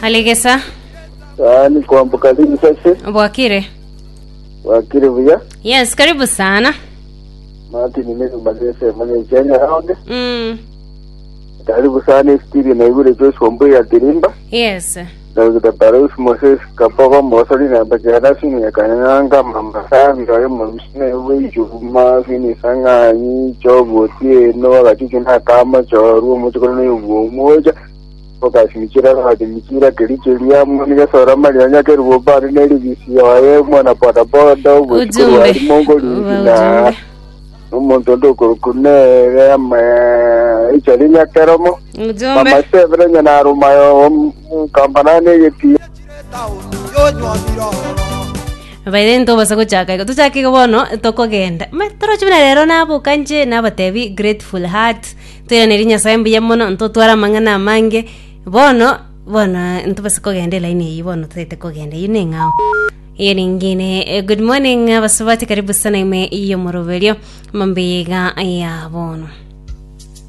Alegesa Yaani kwamboka risase bwakire wakire buya yes karibu sana Martin Mary Mazese Kenya round mm. karibu sana studio na ibure Joshua Mbuya ya Tirimba yes Dr. Barus Moses Kapogo Mosoli na Bajana Sini ya Kanyanga Mama Sabi Royo Msine Wijuma Fini Sanganyi Chobo Tieno Wakachuchu na Kama Choruo Muchukuru na Yubu Moja Okashimichira Kashimichira Kericheria Mwana Sora Marianya Kerubo Bari Neribisi Oye Mwana Boda Boda Ujumbe. Wali Mongo Ujumbe. Na Omonto ndokurukunere ama ichari nyakeromo ujumbe Mama Severe nyanarumayo kambanane geti baire ntobasa gochaka igo tochake igo bono tokogenda Ma, toroche buna rero naboka inche nabatebi grateful heart toiranerie nyasaye mbuya mono ntotware amang'ana amange bono bono ntobase kogenda elaini eyio bono totaete kogenda eyio neng'ao iyo ningine Eh, good morning abasubati karibu sana ime yomoroberio mambega ya bono.